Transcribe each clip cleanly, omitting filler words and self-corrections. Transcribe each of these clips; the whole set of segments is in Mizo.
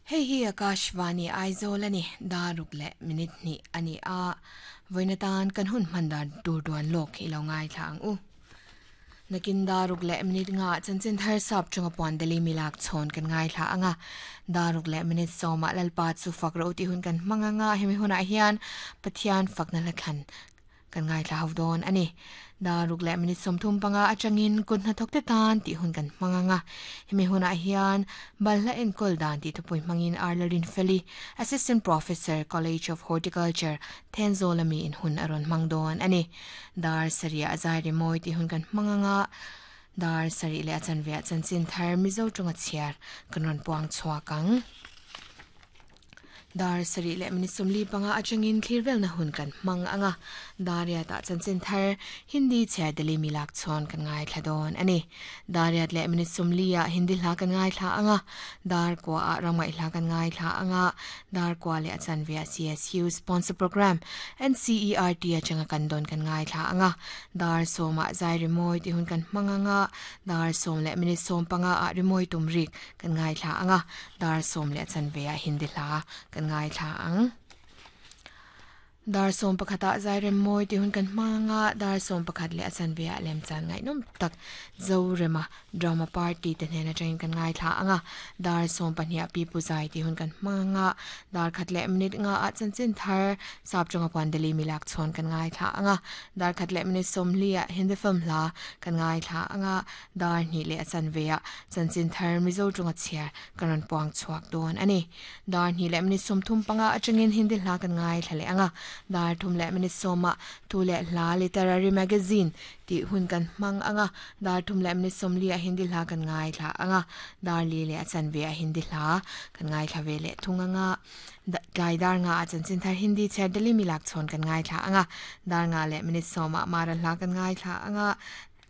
Hei hi Akashvani Aizawl a ni, daruk leh minute hnih a ni a, vawiin atan kan hun hman dan tur duan lawk i lo ngaithla ang u. Nakin daruk leh minute nga chanchin thar sap chunga puan Delhi milak chhawn kan ngaithla ang a, daruk leh minute sawmah Lalpa chu fak ro tih hun kan hmang ang a, hemi hunah hian Pathian fakna hla thlan Kan ngaithla ho dawn a ni. Daruk leh minute 35 atangin kut hnathawkte tan tih hun kan hmang ang a. Hemi hunah hian balhla enkawl dan tih thupui hmangin Arla Rinfeli, Assistant Professor, College of Horticulture, Thenzawl ami in hun a rawn hmang dawn a ni. Dar sarih ah zai rimawi tih hun kan hmang ang a. Dar sarih leh a chanve ah chanchin thar Mizo tawnga chhiar kan rawn puang chhuak ang. Dar sarih leh minute 45 atangin thlir velna hun kan hmang ang a, Dariat ah chanchin thar Hindi chhiar Delhi mi lak chhawn kan ngaithla dawn a ni. Dariat leh minute 40 ah Hindi hla kan ngaithla ang a, Dar kua ah ramngaih hla kan ngaithla ang a, Dar kua leh a chanve ah CSU sponsor program NCERT atanga kan dawn kan ngaithla ang a, Dar sawm ah zai rimawi tih hun kan hmang ang a, Dar sawm leh minute 15 ah rimawi tum rik kan ngaithla ang a, Dar sawm leh chanve ah Hindi hla kan ngaithla ang. Dar sawm pakhat ah Zairem mawi tih hun kan hmang a, dar 11 leh a chanve ah lemchan ngaihnawm tak Zorema drama party te hnen atangin kan ngaithla ang a, dar 12 ah Pipu Zai tih hun kan hmang a, dar khat leh minute nga ah chanchin thar sap tawnga puan Delhi milak chhawn kan ngaithla ang a, dar khat leh minute 40 ah Hindi film hla kan ngaithla ang a, Dar hnih leh a chanve ah chanchin thar Mizo tawnga chhiar kan rawn puang chhuak dawn a ni. Dar hnih leh minute 35 atangin Hindi hla kan ngaithla leh ang a, dar thum leh minute sawm ah thu leh hla Literary Magazine tih hun kan hmang ang a, dar thum leh minute 40 ah Hindi hla kan ngaithla ang a, dar li leh a chanve ah Hindi hla kan ngaithla ve leh thung ang a, tlai dar nga ah chanchin thar Hindi chhiar Delhi milak chhawn kan ngaithla ang a, dar nga leh minute sawm ah Mara hla kan ngaithla ang a,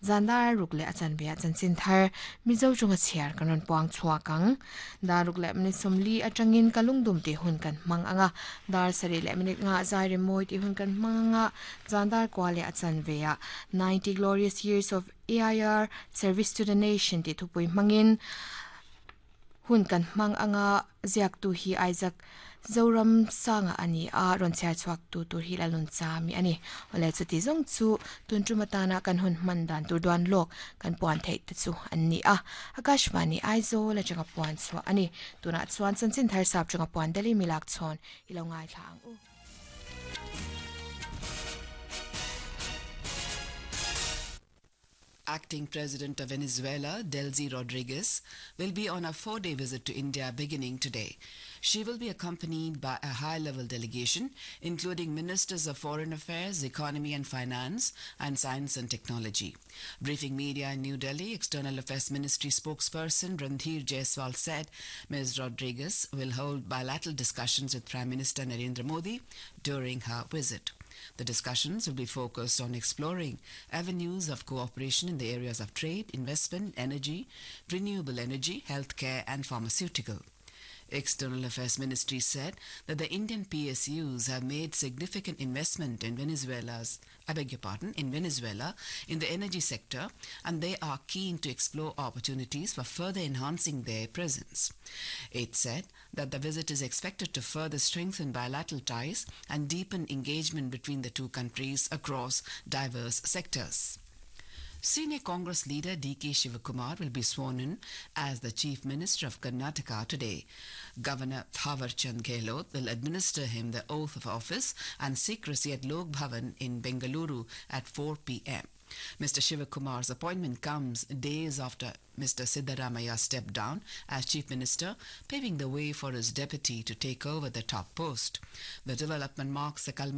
Zan dar ruk leh a chanve ah chanchin thar Mizo chunga chhiar kan rawn puang chhuak ang. Dar ruk leh minute 40 atangin ka lungdum tih hun kan hmang ang a, dar sarih leh minute nga zai rimawi tih hun kan hmang ang a, zan dar kua leh a chanve ah 90 Glorious Years of AIR Service to the Nation tih thupui hmangin Hun kan hmang anga ziaktu hi Isaac Zoram Sanga a ni a, rawn chhiar chhuak tu tur hi Lalun Chami a ni. Awle chuti zawng chu tun tum atana kan hun hman dan tur duan lawk kan puan theih te chu an ni a. Akashvani Aizawl atanga puan chhuah a ni. Tunah chuan chanchin thar sap chunga puan Delhi milak chhawn i lo ngaithla ang u. Acting President of Venezuela, Delcy Rodriguez, will be on a four-day visit to India beginning today. She will be accompanied by a high-level delegation, including Ministers of Foreign Affairs, Economy and Finance, and Science and Technology. Briefing media in New Delhi, External Affairs Ministry spokesperson Randhir Jaiswal said Ms. Rodriguez will hold bilateral discussions with Prime Minister Narendra Modi during her visit. The discussions will be focused on exploring avenues of cooperation in the areas of trade, investment, energy, renewable energy, healthcare, and pharmaceutical. External Affairs Ministry said that the Indian PSUs have made significant investment in Venezuela's I beg your pardon, in Venezuela in the energy sector and they are keen to explore opportunities for further enhancing their presence. It said that the visit is expected to further strengthen bilateral ties and deepen engagement between the two countries across diverse sectors. Senior Congress leader D.K. Shivakumar will be sworn in as the Chief Minister of Karnataka today. Governor Thawarchand Chand Gehlot will administer him the oath of office and secrecy at Lok Bhavan in Bengaluru at 4 p.m. Mr. Shivakumar's appointment comes days after Mr. Siddaramaiah stepped down as Chief Minister, paving the way for his deputy to take over the top post. The development marks the culmination